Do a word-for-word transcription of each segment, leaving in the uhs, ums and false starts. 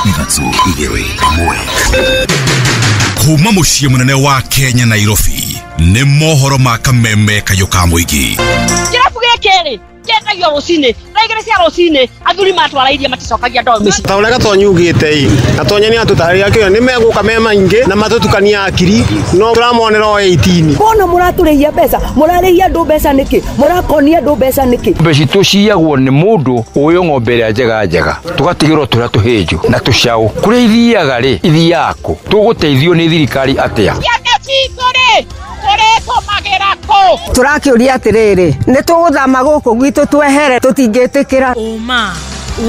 Ithatũ, igĩrĩ, ĩmwe. Kuma mũciĩ mũnene wa Kenya, Nairobi, nĩ mohoro ma kameme kayũ ka mũingĩ. Kĩrabu gĩkĩ rĩ kĩendagio rũcinĩ thaa igĩrĩ cia rũcinĩ, athuri matwara iria maticokagia ndoo mĩciĩ. Ta ũrĩa Gatonyi ugĩte ĩ, Gatonyi nĩ atũtarĩria kĩo nĩ megũka me maingĩ na matũtukania akiri, no tũramonera o eighteen. Mbona mũratũrĩhia mbeca? Mũrarĩhia andũ mbeca nĩkĩ? Mũrakonia andũ mbeca nĩkĩ? Ng'ombe citũ ciyagwo nĩ mũndũ ũyũ, ng'ombe ĩrĩa njega njega tũgatigĩrwo tũrĩa tũhĩnju na tũcaũ. Kũrĩa ithiaga rĩ, ithiaga kũ? Tũgũteithio nĩ thirikari atĩa? Ciana citũ rĩ, tũrĩtũmagĩra kũ? Tũrakĩũria atĩrĩrĩ, nĩ tũgũthama gũkũ gwitũ twehere? Tũtingĩtĩkĩra. Ũma,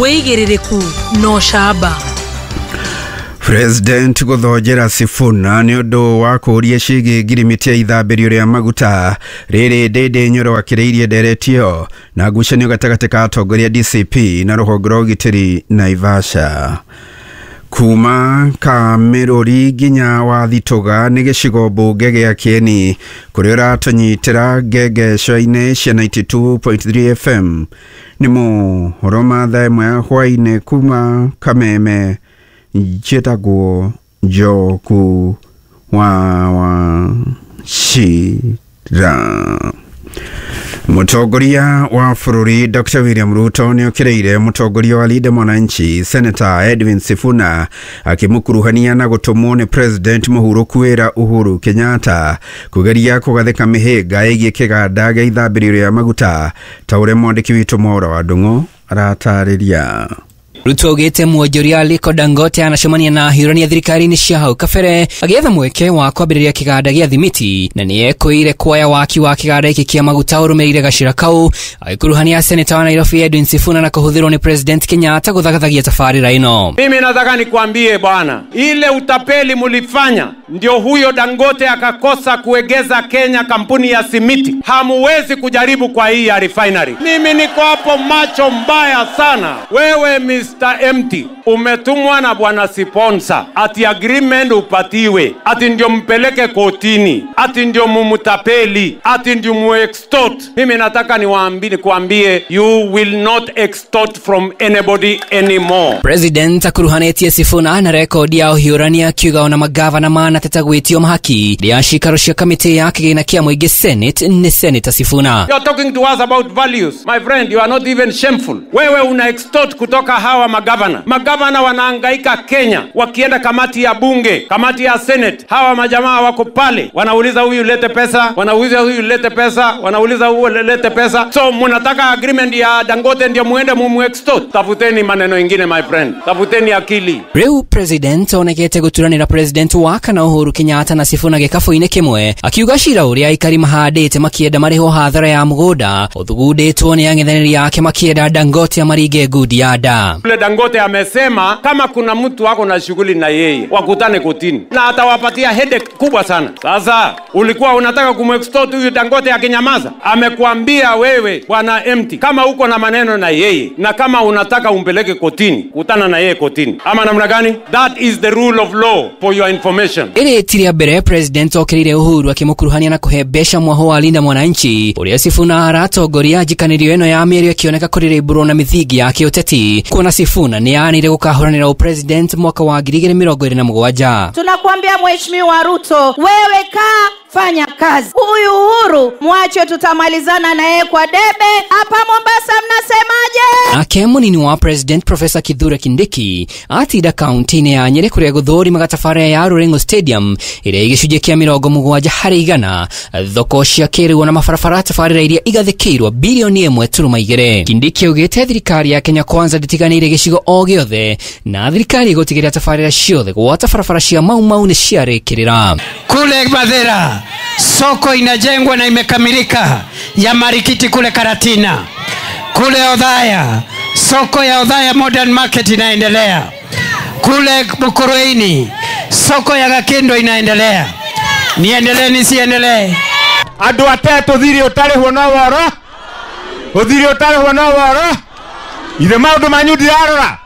wĩigĩrĩrĩku na ũcamba. President gũthonjera Sifuna nĩ ũndũ wa kũũria ciĩgiĩ ngirimiti ya ithambĩrio rĩa maguta. Rĩrĩ Ndĩndĩ Nyoro akĩrĩirie ndereti ĩyo na ngucanio gatagatĩ ka atongoria D C P na rũhonge rwa ũgitĩri Naivasha. Kuma Kamĩrũri nginya Wathitũga nĩ gĩcigo mbunge gĩa Kĩeni, kũrĩa ũratũnyitĩra ngengeco-inĩ cia ninety-two point three F M. Nĩ mohoro ma thaa ĩmwe ya hwaĩ-inĩ kuma Kameme. Njĩtagwo Njoku wa Wachira. Mũtongoria wa bũrũri Doctor William Ruto nĩ okĩrĩire mũtongoria wa Linda Mwananchi Senator Edwin Sifuna, akĩmũkuruhania na gũtũmwo nĩ President mũhurũku wĩra Uhuru Kenyatta kũgeria kũgathĩka mĩhĩnga ĩgiĩ kĩganda gĩa ithambĩrio rĩa maguta, ta ũrĩa mwandĩki witũ Mwaura wa Ndung'u aratarĩria. Ruto augĩte mwonjoria Aliko Dangote anacemania na ahiũrania thirikari-inĩ cia hau kabere agĩetha mweke wa kwambĩrĩria kĩganda gĩa thimiti, na nĩ ekwĩire kuoya waki wa kĩganda gĩkĩ kĩa maguta ũrũmĩrĩire gacĩra kau, agĩkuruhania seneta wa Nairobi Edwin Sifuna na kũhũthĩrwo nĩ President Kenyatta gũthagathagia tabarĩra ĩno. Mimi nataka nikwambie bwana, ile utapeli mulifanya ndio huyo Dangote akakosa kuegeza Kenya kampuni ya simiti. Hamuwezi kujaribu kwa hii ya refinery. Mimi niko hapo macho mbaya sana. Wewe Mister Empty, umetumwa na bwana sponsor ati agreement upatiwe, ati ndio mpeleke kotini, ati ndio mumutapeli, ati ndio muextort. Mimi nataka niwaambie, nikuambie, you will not extort from anybody anymore. President akuruhanĩtie Sifuna na rekodi ya ũhiũrania, akiuga ona magavana manateta gwĩtio mahaki rĩa cikaro cia kamĩtĩ ya kĩgĩna kĩa mũingĩ Senate nĩ Senator Sifuna. You are talking to us about values. My friend, you are not even shameful. Wewe una extort kutoka hawa magavana. Magavana wanahangaika Kenya, wakienda kamati ya bunge, kamati ya Senate. Hawa majamaa wako pale, wanauliza huyu lete pesa, wanauliza huyu lete pesa, wanauliza huyu lete pesa. So mnataka agreement ya Dangote ndio muende mumu extort? Tafuteni maneno ingine, my friend. Tafuteni akili. Rĩu President onekete gũturanĩra President wa kana Uhuru Kenyatta na Sifuna gĩkabũ-inĩ kĩmwe, akiuga cira ũrĩa aikari mahandĩte makĩenda marĩhwo hathara ya mũgũnda ũthugundĩtwo nĩ ang'ethanĩri ake makĩenda Dangote amaringe ngundi ya nda. Yule Dangote amesema kama kuna mtu ako na shughuli na yeye wakutane kotini na atawapatia headache kubwa sana. Sasa ulikuwa unataka kumextort huyu Dangote akinyamaza? Amekuambia wewe bwana Empty, kama uko na maneno na yeye na kama unataka umpeleke kotini, kutana na yeye kotini, ama namna gani? That is the rule of law, for your information. Ĩrĩ ti rĩa mbere President okĩrĩire Uhuru akĩmũkuruhania na kũhe mbeca mwaho wa Linda Mwananchi ũrĩa Sifuna aratongoria, njikanĩrio ĩno ya mĩario ĩkĩoneka kũrĩrĩmbũrwo na mĩthingi ya kĩũteti, kuona Sifuna nĩ aanĩire gũkahũranĩra ũpresident mwaka wa ngiri igĩrĩ mĩrongo ĩrĩ na mũgwanja. Tunakuambia Mheshimiwa Ruto, wewe kaa, fanya kazi. Huyu Uhuru mwache, tutamalizana na yeye kwa debe. Hapa Mombasa mnasemaje? Nake mũnini wa President Professor Kithure Kindiki atinda kaunti-inĩ ya Nyĩrĩ kũrĩa gũthũrimaga tabarĩra ya Ruring'u Stadium ĩrĩa ĩ gĩcunjĩ kĩa mĩrongo mũgwanja harĩ igana thoko cia kĩrĩu na mabarabara, tabarĩra iria igathĩkĩirwo bilioni ĩmwe turuma igĩrĩ. Kindiki augĩte thirikari ya Kenya Kwanza ndĩtiganĩire gĩcigo o gĩothe, na thirikari ĩgũtigĩrĩra tabarĩra ciothe gwata barabara cia Mau Mau nĩ ciarĩkĩrĩra. Kule Mathira soko inajengwa na imekamilika ya Marikiti kule Karatina. Kule Othaya soko ya Othaya Modern Market inaendelea. Kule Mukurweini soko ya Gakindo inaendelea. Niendelee nisiendelee? Andũ atetũ thirĩ ũtarĩhwo no woro, ũthirĩ ũtarĩhwo no woro. Ithe maũndũ manyu ndirarora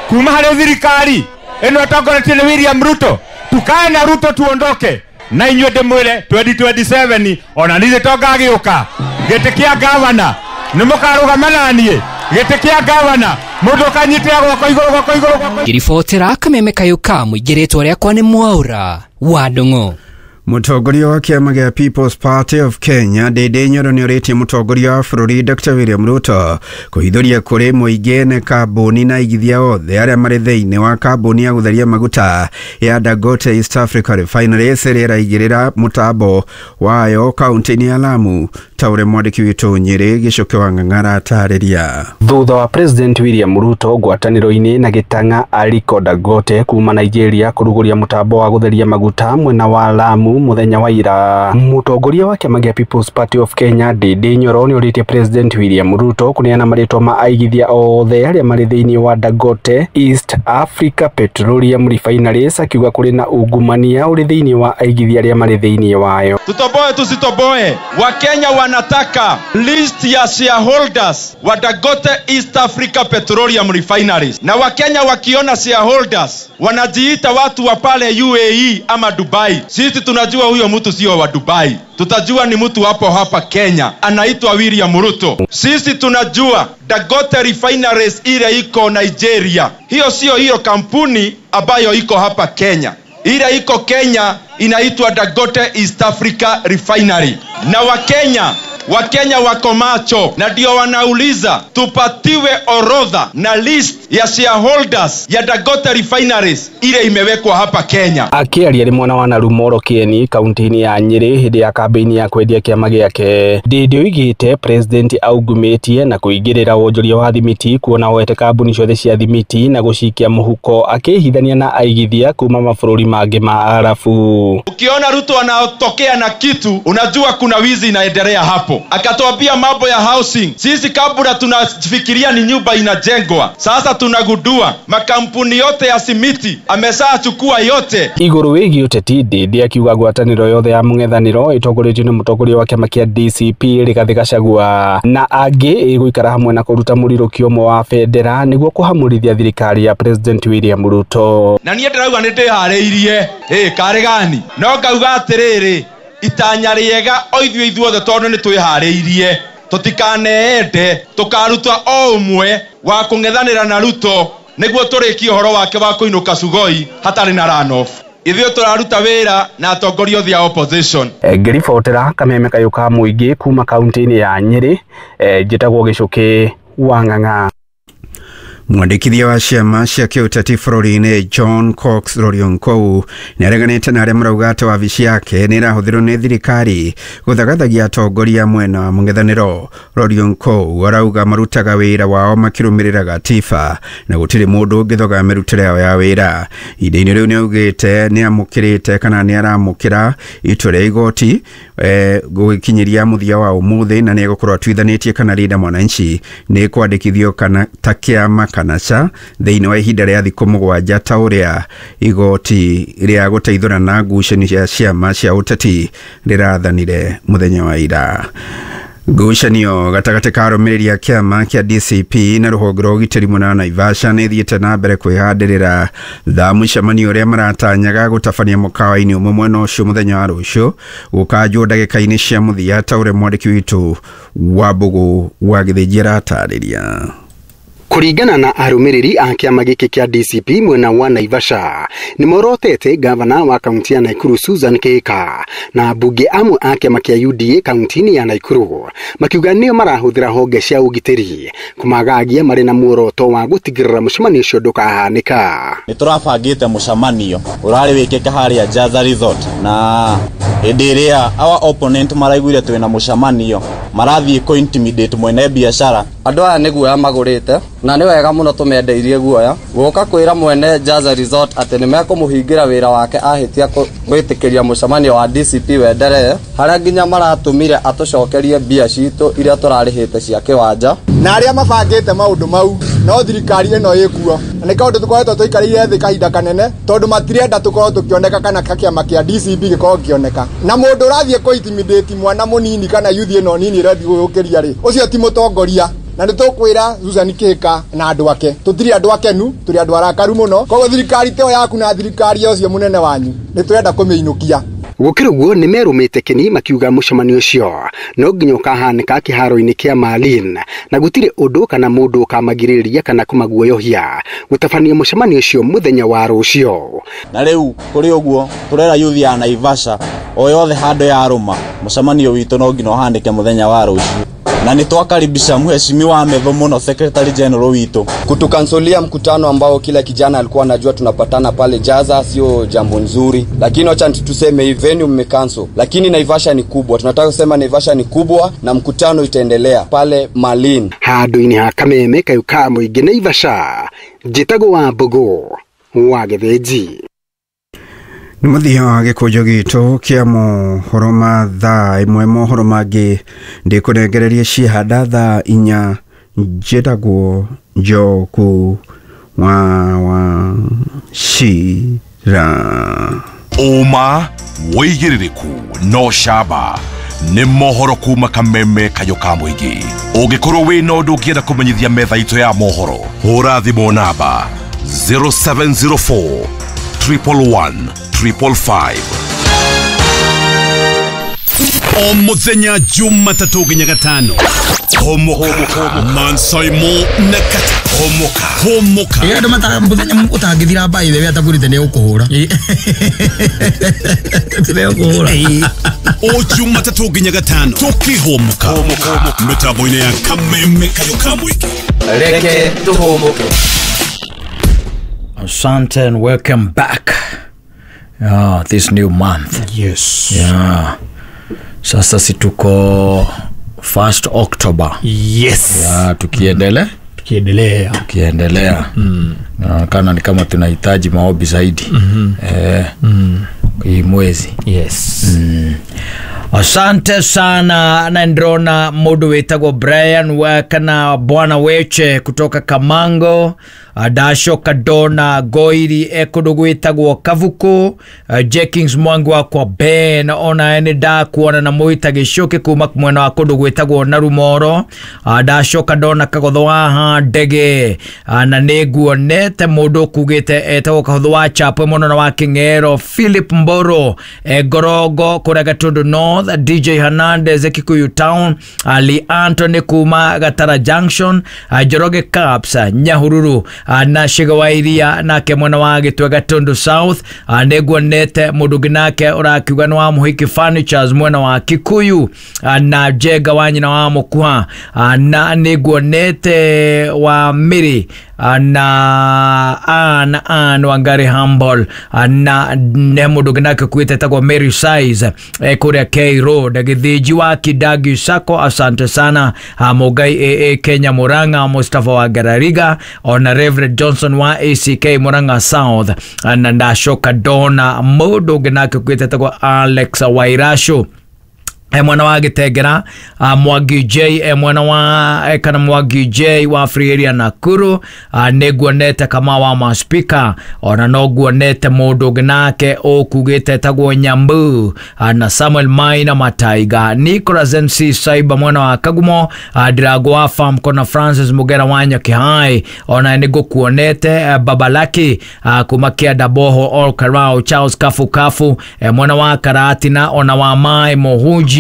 kuma harĩ thirikari ĩno ĩtongoretio nĩ William Ruto. Tukae na Ruto tuondoke na inyuĩ. Ndĩmwĩre twenty twenty-seven ona niĩ to ngagĩũka gĩtĩ kĩa gavana, nĩ mũkarũgama na niĩ. Gĩtĩ kĩa gavana mũndũ ũkanyitĩra guoko igũrũ guoko igũrũ guoko. Ngĩribotera kameme kayũ ka mũingĩ rĩtwa rĩakwa nĩ Mwaura wa Ndung'u. Mũtongoria wa kĩama gĩa People's Party of Kenya Ndindi Nyoro nĩorĩtie mũtongoria wa bũrũri Dr William Ruto kũhithũria kũrĩ mũingĩ na kambuni na aigithia othe arĩa marĩ thĩinĩ wa kambuni ya gũtheria maguta ya Dangote East Africa Refineries ĩrĩa ĩraigĩrĩra mũtambo wayo kaunti-inĩ ya Lamu, ta ũrĩa mwandĩki witũ Nyĩrĩ Gĩcũkĩ wa Ng'ang'ara atarĩria. Thutha wa President William Ruto ngwatanĩro-inĩ na gĩtang'a Aliko Dangote kuma Nigeria kũrugũria mũtambo wa gũtheria maguta mwena wa Lamu muthenya wa ira, mũtongoria wa kĩama gĩa People's Party of Kenya Ndindi Nyoro nĩorĩtie President William Ruto kũneana marĩtwa ma aigithia othe arĩa marĩ thĩinĩ wa Dangote East Africa Petroleum Refineries, akiuga kũrĩ na ungumania ũrĩ thĩinĩ wa aigithia arĩa marĩ thĩinĩ wayo. Tutoboe tusitoboe, Wakenya wanataka list ya shareholders wa Dangote East Africa Petroleum Refineries, na Wakenya wakiona shareholders wanajiita watu wa pale U A E ama Dubai, sisi tunajua huyo mtu sio wa Dubai, tutajua ni mtu hapo hapa Kenya anaitwa William Ruto. Sisi tunajua Dangote Refineries ile iko Nigeria, hiyo sio hiyo kampuni ambayo iko hapa Kenya. Ile iko Kenya inaitwa Dangote East Africa Refinery. Na Wakenya Wakenya wako macho na ndio wanauliza tupatiwe orodha na list ya shareholders ya Dangote Refineries ile imewekwa hapa Kenya. Akiaria rĩ mwena wa Narumoro Kieni kaunti-inĩ ya Nyĩrĩ hĩndĩ ya kambĩini ya kwendia kĩama gĩake, Ndindi oigĩte President aungumĩtie na kũingĩrĩra wonjoria wa thimiti kuona oete kambuni ciothe cia thimiti na gũcikia mũhuko akĩhithania na aigithia kuma mabũrũri mangĩ ma Arabu. Ukiona Ruto anatokea na kitu unajua kuna wizi inaendelea hapo. Akatuambia mambo ya housing, sisi kabla tunafikiria ni nyumba inajengwa, sasa tunagundua makampuni yote ya simiti ameshachukua yote. Igũrũ wĩgiĩ ũteti, Ndindi akiuga ngwatanĩro yothe ya mũng'ethanĩro ĩtongoretio nĩ mũtongoria wa kĩama kĩa D C P Rigathĩ Gachagua na angĩ ĩgũikara hamwe na kũruta mũrirũkio ũmwe wa bendera nĩguo kũhamũrithia thirikari ya President William Ruto. Na niĩ ndĩrauga nĩ ndĩharĩirie ĩ karĩ gani, no ngauga atĩrĩrĩ, itanya rĩega o ithuĩ ithuothe tondũ nĩ twĩharĩirie, tũtikaneende tũkaruta o ũmwe wa kũng'ethanĩra na Ruto nĩguo tũrĩkie ũhoro wake wa kũinũka Sugoi hatarĩ na runoff. Ithuĩ tũraruta wĩra na atongoria othe a opposition. Ngĩribotera kameme kayũ ka mũingĩ kuma kaunti-inĩ ya Nyĩrĩ, njĩtagwo Gĩcũkĩ wa Ng'ang'a. Mwandĩkithia wa ciama cia kĩũteti bũrũri-inĩ John Cox Rorionkou nĩareganĩte na arĩa marauga atĩ wabici yake nĩ ĩrahũthĩrwo nĩ thirikari gũthagathagia atongoria mwena wa mũng'ethanĩro. Rorionkou arauga marutaga wĩra wao makĩrũmĩrĩra gatiba na gũtirĩ mũndũ ũngĩthoga mĩrutĩre yao ya wĩra. Ihinda-inĩ rĩu nĩaugĩte nĩamũkĩrĩte kana nĩaramũkĩra itua rĩa igoti eh, gũgĩkinyĩria mũthia wa ũmũthĩ na nĩegũkorwo atuithanĩtie kana Linda Mwananchi nĩ kwandĩkithio kana ta kĩama kana ca thĩinĩ wa ihinda rĩa thikũ mũgwanja ta ũrĩa igoti rĩa gũteithũra na ngucanio cia ciama cia ũteti rĩrathanire mũthenya wa ira. Ngucanio gatagatĩ ka arũmĩrĩri a kĩama kĩa D C P na rũhonge rwa ũgitĩri mwena wa Naivasha nĩ ĩthiĩte na mbere kwĩhandĩrĩra thaa mũcemanio ũrĩa maratanyaga gũtabania mũkawa-inĩ ũmwe mwena ũcio mũthenya wa rũciũ gũkanjwo ndagĩka-inĩ cia mũthia ta ũrĩa mwandĩki witũ wa Mbũgũ wa Gĩthĩnji aratarĩria. Kũringana na arũmĩrĩri a kĩama gĩkĩ kĩa D C P mwena wa Naivasha nĩmorotete gavana wa kaunti ya Nakuru Susan Kihika na ambunge amwe a kĩama kĩa U D A kaunti-inĩ ya Nakuru makiuga nĩo marahũthĩra honge cia ũgitĩri kũmagagia marĩ na muoroto wa gũtigĩrĩra mũcemanio ũcio ndũkahanĩka. Nĩ tũrabangĩte mũcemanio ũrarĩ wĩkĩke harĩa Jaza Resort, na hĩndĩ ĩrĩa our opponent maraiguire twĩna mũcemanio marathiĩ kũ intimidate mwene biacara. Andũ aya nĩ guoya magũrĩte na nĩ wega mũno tũmendeirie guoya gũka kwĩra mwene Jaza Resort atĩ nĩ mekũmũhingĩra wĩra wake ahĩtia gwĩtĩkĩria mũcemanio wa D C P wenderee, harĩa nginya maratũmire atũcokerie mbia citũ iria tũrarĩhĩte cia kĩwanja. Na arĩa mabangĩte maũndũ mau no thirikari ĩno ĩkuo, na nĩ kaũndũ tũkoretwo tũikarĩire thĩ kahinda kanene tondũ matirenda tũkorwo tũkĩoneka kana kĩama kĩa D C P gĩkorwo gĩkĩoneka. Na mũndũ ũrathiĩ kũ intimidate mwana mũnini kana youth ĩno nini ĩrathiĩ gũgũkĩria rĩ, ũcio ti mũtongoria. Na nĩ tũkwĩra Susan Kihika na andũ ake tũtirĩ andũ akenu, tũrĩ andũ arakaru mũno. Koguo thirikari te yaku na thirikari ũcio mũnene wanyu nĩ tũrenda kũmĩinũkia. Gũkĩrĩ ũguo nĩ merũmĩte kĩni makiuga mũcemanio ũcio no nginya ũkahanĩka kĩharo-inĩ kĩa Malin na gũtirĩ ũndũ kana mũndũ ũkamagirĩrĩria kana kũmaguoyohia gũtabania mũcemanio ũcio mũthenya wa rũciũ. Na rĩu kũrĩ ũguo tũrera youth ya Naivasha o yothe handũ ya rũma mũcemanio witũ no nginya ũhanĩke mũthenya wa rũciũ na nĩ twakaribisha mheshimiwa Methu mũno Secretary General witũ. Kutukansolia mkutano ambao kila kijana alikuwa anajua tunapatana pale Jaza sio jambo nzuri, lakini acha tuseme hii venue mmecancel, lakini Naivasha ni kubwa, tunataka kusema Naivasha ni kubwa na mkutano itaendelea pale Malin. Handũ-inĩ ha Kameme kayũ ka mũingĩ Naivasha, njĩtagwo wa Mbogo wa Gĩthĩnji. Nĩ mũthia wa gĩkũnjo gitũ kĩa mohoro ma thaa ĩmwe. Mohoro mangĩ ndĩkũnengereria ciehanda thaa inya. Njĩtagwo Njoku wa wa Cira. Ũma wĩigĩrĩrĩku no camba nĩ mohoro kuma Kameme kayũ ka mũingĩ. Ũngĩkorwo wĩna ũndũ ũngĩenda kũmenyithia metha itũ ya mohoro, hũra thimũ namba zero seven zero four triple one triple five. O muthenya Jumatatũ nginya Gatano. Homoka Mansaimo na Kata. Homoka Homoka. Ĩĩ andũ mataga muthenya ũtangĩthira by the way atagũrĩte nĩ ũkũhũra. Nĩ ũkũhũra. O Jumatatũ nginya Gatano tũkĩhomoka mĩtambo-inĩ ya Kameme kayũ ka mũingĩ. Reke tũhũmũke. Asante and welcome back. Ah, this new month. Yes. Yeah. Sasa si tuko first October. Yes. Yeah, tukiendelea. Tukiendelea. Tukiendelea. Mm. Inaonekana ni kama tunahitaji maombi zaidi. Mm -hmm. Eh. Mm. Hii mwezi. Yes. Mm. Asante sana na ndrona mundu witagwo Brian Wakana Bwana Weche kutoka Kamango, Adasho Kadona Goiri ekundu gwitagwo Kavuku, Jenkins Mwangi wakwa Ben ona ene ndakuona na mwita gicuki kuma mwena wa kundu gwitagwo Narumoro, Adasho Kadona Kagotho wa Ndege na nĩnguonete mundu kugite etagwo Kagotho wa Chapwe muno na wa King'ero, Philip Mboro Ngorongo kuria Gatundu North, D J Hernandez Kikuyu Town, Ali Anthony kuma Gatara Junction, Njoroge Caps Nyahururu na Shigawairia nake mwena wa Gitwe Gatundu South, nĩnguonete mundu ũngĩ nake ũrakiuga nĩ wa Mũhiki Furnitures mwena wa Kikuyu na Jenga wa nyina wa Mũkuha, na nĩnguonete wa Miri na an an Wangari Humble na ne mundu ũngĩ nake kuite tagwo Mary Size kuria K Road Githinji wa Kidagi Sako. Asante sana Mugai A A Kenya Murang'a, Mustafa wa Garariga ona Reverend Johnson wa A C K Murang'a South na ndashoka dona mundu ũngĩ nake kuite tagwo Alex Wairashu e mwana wa Gitengera, Mwangi J e mwana wa e kana Mwangi J wa Free Area Nakuru, nĩnguonete kama wa maspika ona no nguonete mundu ũngĩ nake ũkugĩte tagwo Nyambu na Samuel Maina Mataiga, Nicholas N C Saiba mwana wa Kagumo, Ndirago wa Farm kona Francis Mugera wa Nyakihai ona nĩngũkuonete Babalaki kuma Kĩanda Boho All Karao, Charles Kafu Kafu e mwana wa Karatina ona wa Mai Mohunjia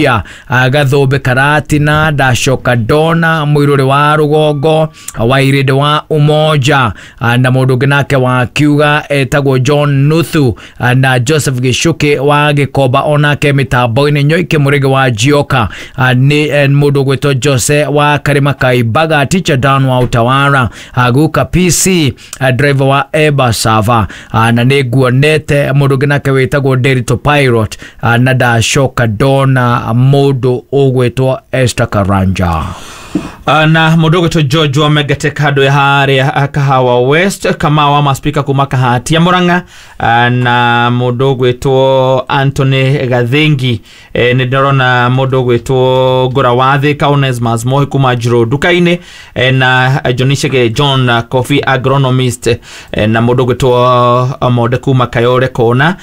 Gathumbi Karatina, Ndashoka Dona Mwiruri wa Rugongo wa Irindi wa Umoja na mundu ũngĩ nake wa kiuga etagwo John Nuthu na Joseph Gicuki wa Gĩkomba onake mĩtambo-inĩ, Nyoike Mũrĩge wa Jioka nĩ mundu ũgwĩtwo Jose wa Karima Kaimbaga, Teacher Dan wa Utawara, Guka P C driver wa Eba Sava na nĩnguonete mundu ũngĩ nake wĩtagwo Derito Pirate na Ndashoka Dona mundu ũgwĩtwo Esther Karanja na mundu ũgwĩtwo George wa Megate kando ya haria Kahawa West kama wa maspika kuma Kahati ya Murang'a na mundu ũgwĩtwo Anthony Gathingi e, nĩ ndĩrona mundu ũgwĩtwo Ngũra wa Thika Onesmus Mohi kuma Njiro nduka-inĩ e, na John John Coffee agronomist e, na mundu ũgwĩtwo Monde kuma Kayore Kona,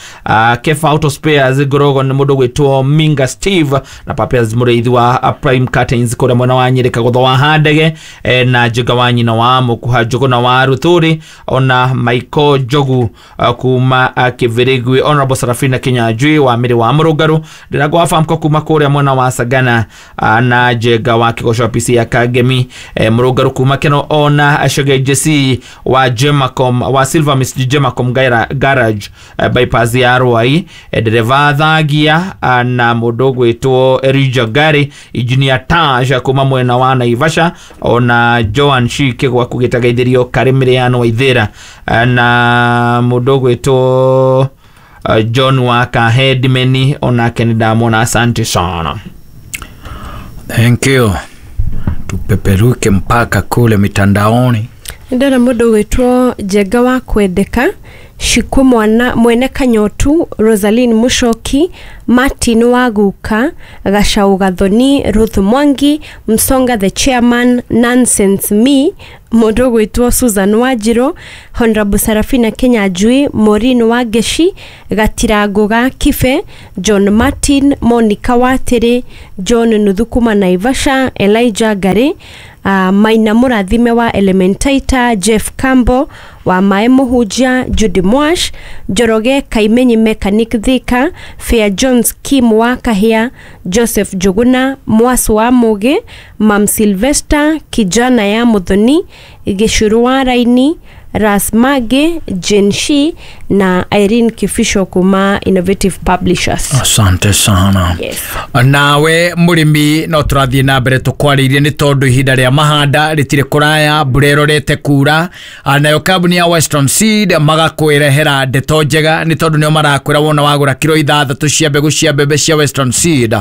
Kefa Auto Spares Ngorogo nĩ mundu ũgwĩtwo Minga Steve na Papias Mũrĩithi wa Prime Curtains kũrĩa mwena wa Nyĩrĩ. Kagotho wa Handege eh, na Njenga wa nyina wa Mukuha Njuguna wa Ruthuri ona Michael Njogu uh, kuma uh, Kivirigwi Honorable Sarafina Kinyanjui wa Miri wa Murungaru Ndirango wa Famco kuma kuria mwena wa Sagana uh, na Njenga wa Kigoco P C ya Kangemi eh, Murungaru kuma Keno ona Shege J C wa Jemacom wa Silver Miss Jemacom Garage eh, bypass ya Ruai eh, dereva Thagia uh, na mundu gwitwo Elijah Gari Engineer Taj kuma mwena wa Naivasha ona Joan Shike gwa kugitagaithirio Karimiriano wa Ithira na mundu gwitwo uh, John wa Kahedimeni onake ni ndamwona. Asante sana. Thank you. Tupeperuke mpaka kule mitandaoni. Ndona mundu gwitwo Njenga wa Kwendeka Shiku mwana mwene Kanyotu Rosaline Mushoki Martin Waguka Gacau Gathoni Ruth Mwangi Msonga the chairman Nonsense me mundu gwitwo Susan Wanjiru Honorable Sarafina Kinyanjui Maureen Wangeshi Gatirango ga Kibe John Martin Monica Watiri John Nuthukuma Naivasha Elijah Gari Uh, Maina Murathime wa Elementaita Jeff Campbell wa Mae Muhunjia Judy Mwash Njoroge Kaimenyi Mechanic Thika Fair Jones Kim wa Kahia Joseph Njuguna Mwasu wa Mugi Mam Sylvester Kijana ya Muthoni Gicuru wa Raini Ras Mage Jenshi na Irene Kifisho kuma Innovative Publishers. Asante sana. Yes. Nawe murimi no turathie na mbere tukwaririe ni tondu ihinda ria mahanda ritire kuraya mbura irorete kura nayo kambuni ya Western Seed magakwirehera ndeto njega ni tondu nio marakwira wona wagura kilo ithathatu cia mbegu cia mbembe cia Western Seed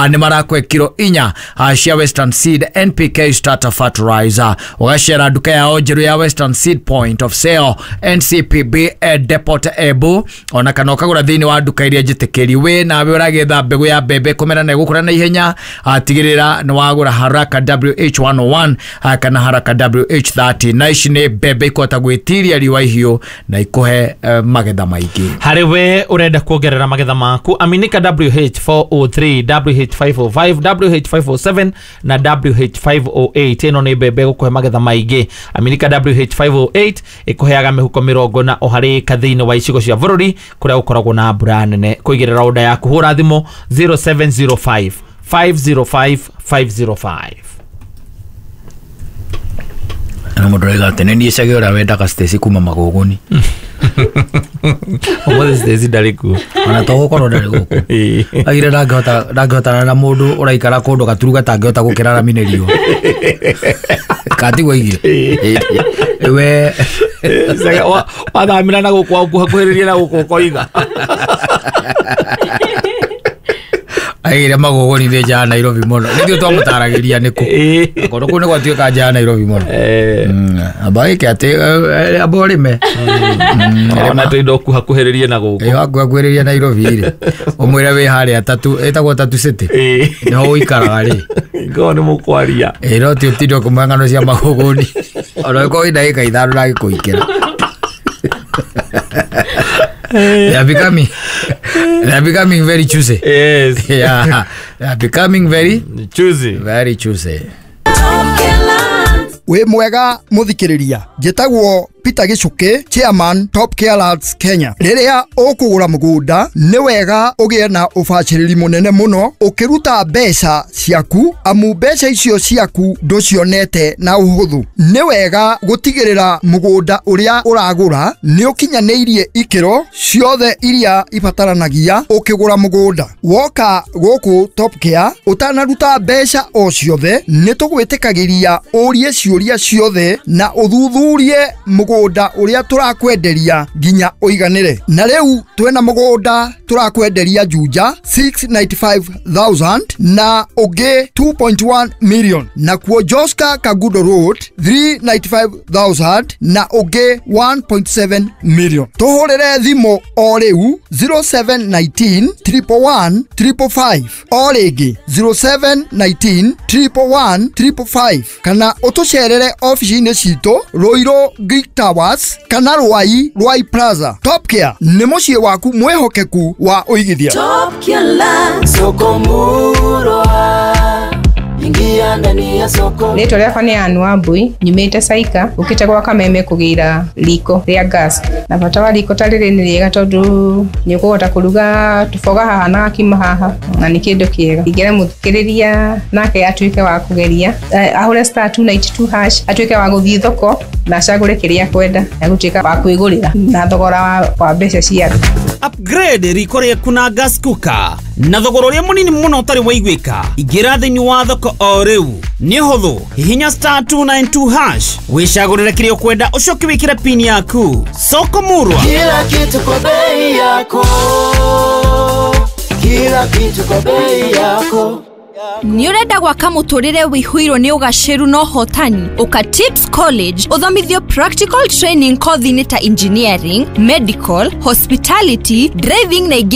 ni marakwe kilo inya cia Western Seed N P K starter fertilizer ugacera nduka yao njeru ya Western Seed Point of Sale N C P B Depot Ebu ona kana ukagura thiini wa nduka iria njitikiri we nawe uragetha mbegu ya mbembe kumera na igukura na ihenya tigirira ni wagura Haraka W H one oh one kana Haraka W H thirty na ici ni mbembe ikũhota gwĩtiria riũa ihiũ na ikuhe uh, magetha maingĩ. Harĩ we ũrenda kuongerera magetha maku aminika W H four oh three, W H five oh five, W H five oh seven na W H five oh eight ĩno nĩ mbembe ĩgũkũhe magetha maingĩ. Aminika W H five oh eight ĩkũheaga mĩhuko mĩrongo na o harĩ ĩka thĩinĩ wa icigo cia bũrũri kũrĩa gũkoragwo na mbura nene. Kũigĩrĩra order yaku hũra thimũ zero seven zero five, five zero five, five zero five. Na mũndũ arauga atĩ nĩ niĩ Chege ũrĩa wendaga Stacy kuma Magũgũni. Ũmũthĩ Stacy ndarĩ kuo. Ona to gũkorwo ndarĩ gũkũ. Augire ndangĩhota ndangĩhotana na mũndũ ũraikara kũndũ gaturu gatangĩhota gũkĩra rami nĩ riũa. Katiguo aigire. We wathamĩra na gũkũ wakuhĩrĩria na gũkũ ũkoiga. Aigire Magũgũni nĩ nja ya Nairobi mũno. Nĩthuĩ twamũtaragĩria nĩkũ. Kũndũ kũu nĩ gwatuĩka nja ya Nairobi mũno. Amba ĩke atĩ amba ũrĩme. Ona tũindo ũkuhakuhĩrĩrie na gũkũ. Ĩ wakuhakuhĩrĩria Nairobi rĩ. Ũmwĩre wĩ harĩa Tatu, ĩtagwo Tatu City. Nĩho ũikaraga rĩ. Ngorwo nĩ mũkwaria. Ĩ no ti ũtinde ũkĩmũhe ng'ano cia Magũgũni. Ona ũngĩkorwo wĩ ndagĩka ithano ndangĩkũikĩra. They are becoming, they are becoming very choosy. Yes. Yeah. They are becoming very choosy. Very choosy. We mwega muthikiriria njitagwo Peter Gicuki, chairman Top Care Lads Kenya. Riria ukugura mugunda ni wega ugie na ubaciriri munene muno ukiruta mbeca ciaku amu mbeca icio ciaku nducionete na uhuthu. Ni wega gutigirira mugunda uria uragura ni ukinyanĩirie ikiro ciothe iria ibataranagia ukigura mugunda. Woka guku Top Care utanaruta mbeca o ciothe ni tugwitikagiria urie ciuria ciothe na uthuthurie mugunda uria turakwenderia nginya uiganire. Na riu twena mugunda turakwenderia Juja six ninety-five thousand na ungi two point one million, na kuo Joska Kagudo Road three ninety-five thousand na ungi one point seven million. Tuhurire thimu o riu zero seven nineteen, triple one, triple five o ringi zero seven nineteen, triple one, triple five kana utucerere ofici-inĩ citũ Ruiru Greek Towers kana Ruai Ruai Plaza. Top Care nĩ mũciĩ waku mwĩhokeku wa ũigithia. Top Care Land, soko murwa. Ingia ndani ya soko. Rĩtwa rĩakwa nĩ Ann Wambui, nyumĩte Saika, ũkĩte gwa Kameme kũgĩra riko rĩa gas. Na bata wa riko ta rĩrĩ nĩ rĩega tondũ nĩ ũkũhota kũruga tũboga haha na gakima haha, na nĩ kĩndũ kĩega. Ingĩra mũthikĩrĩria nake atuĩke wa kũgeria, eh, ahũre star two ninety two hash, atuĩke wa gũthiĩ thoko na acagũre kĩrĩa akwenda, na gũtuĩka wa kwĩgũrĩra na thogora wa, wa mbeca cia thĩ. Upgrade riko rĩaku na gas cooker na thogora ũrĩa mũnini mũno ũtarĩ waiguĩka. Ingĩra thĩinĩ wa thoko o rĩu, nĩ ũhũthũ, hihinya star two nine two hash wĩcagũrĩre kĩrĩa ũkwenda, ũcoke wĩkĩre pin yaku. Soko Murwa, Kila kitu kwa bei yako. Kila kitu kwa bei yako. Nĩ ũrenda gwaka mũtũrĩre wĩihũirwo nĩ ũgacĩru na ũhotani? Ũka Tips College ũthomithio practical training kothi-inĩ ta engineering, medical, hospitality, driving na ingĩ.